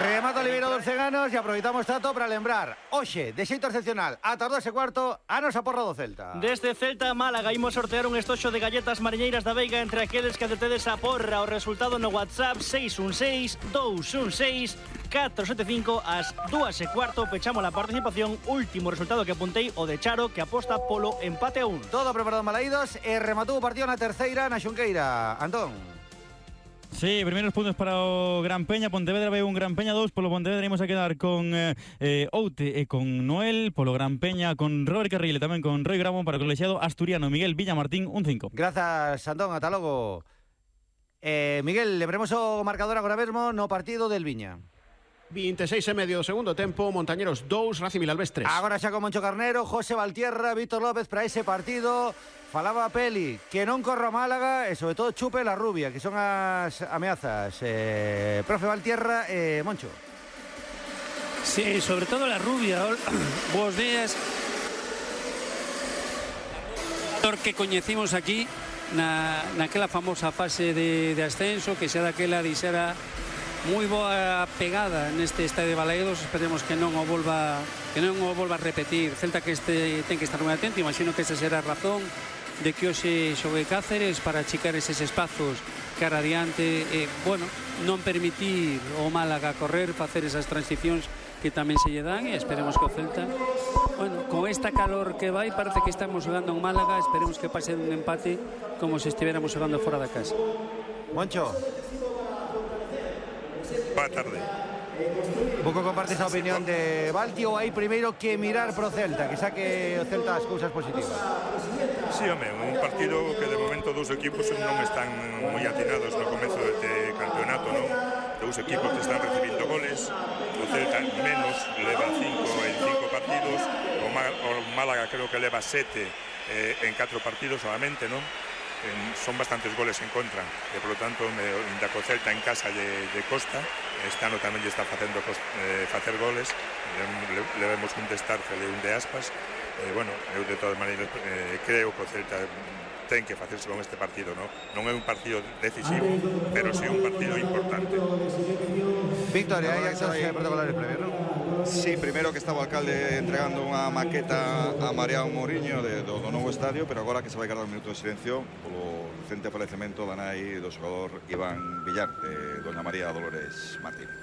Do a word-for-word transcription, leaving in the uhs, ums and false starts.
Remata Oliveira dos Ceganos e aproveitamos tato para lembrar hoxe, de xeito excepcional, ata as dúas e cuarto, a nosa porra do Celta. Desde Celta a Málaga imos sortear un estoxo de galletas mariñeiras da Veiga entre aqueles que acertedes a porra. O resultado no WhatsApp seis un seis, dous un seis, catro sete cinco. Ás dúas e cuarto pechamos a participación. Último resultado que apuntei, o de Charo, que aposta polo empate a un. Todo preparado malaídos e rematou o partido na terceira na Xunqueira. Antón. Sí, primeiros puntos para o Gran Peña. Pontevedra vai un Gran Peña dous. Polo Pontevedra imos a quedar con eh, Oute e con Noel. Polo Gran Peña con Robert Carril e tamén con Roy Grabón. Para o colexiado asturiano Miguel Villamartín, un cinco. Grazas, Antón, ata logo. eh, Miguel, lembremos o marcador agora mesmo no partido del Viña. veintiséis e medio do segundo tempo, Montañeros dous, Racing Vilalbés tres. Agora xa con Moncho Carnero, José Valtierra, Víctor López para ese partido. Falaba Peli, que non corra Málaga e sobre todo chupe la rubia, que son as ameazas. eh, Profe Valtierra e eh, Moncho. Sí, sobre todo la rubia. Buenos días. Que coñecimos aquí na, naquela famosa fase de, de ascenso, que xa daquela dixera moi boa pegada neste estadio de Balaídos. Esperemos que non o volva que non o volva a repetir. Celta que este ten que estar moi atento. Imagino que esa será a razón de que hoxe xogue Cáceres para achicar eses espazos cara adiante e, bueno, non permitir o Málaga correr, facer esas transicións que tamén se lle dan, e esperemos que o Celta, bueno, con esta calor que vai, parece que estamos xogando en Málaga. Esperemos que pase un empate como se estiveramos xogando fora da casa. Moncho. Boa tarde. Pouco compartes a opinión de Valti, ou hai primeiro que mirar pro Celta, que saque o Celta as cousas positivas? Sí, home, un partido que de momento dous equipos non están moi atinados no comezo deste campeonato, non? Dous equipos que están recibindo goles, o Celta menos, leva cinco en cinco partidos, o Málaga creo que leva sete eh, en catro partidos solamente, non? En, son bastantes goles en contra e polo tanto me, da co Celta en casa de, de Costa. Este ano tamén lle está facendo eh, facer goles, le, le vemos un de Starcel e un de Aspas. Eh, bueno, eu de todas maneiras eh, creo que o Celta ten que facerse con este partido, non? Non é un partido decisivo, pero sí un partido importante. Victoria, hai actos protocolares previos, non? Sí, primeiro que estaba o alcalde entregando unha maqueta a Mariano Mourinho de, do, do novo estadio, pero agora que se vai guardar un minuto de silencio polo recente falecemento da nai do xogador Iván Villar, de Doña María Dolores Martínez.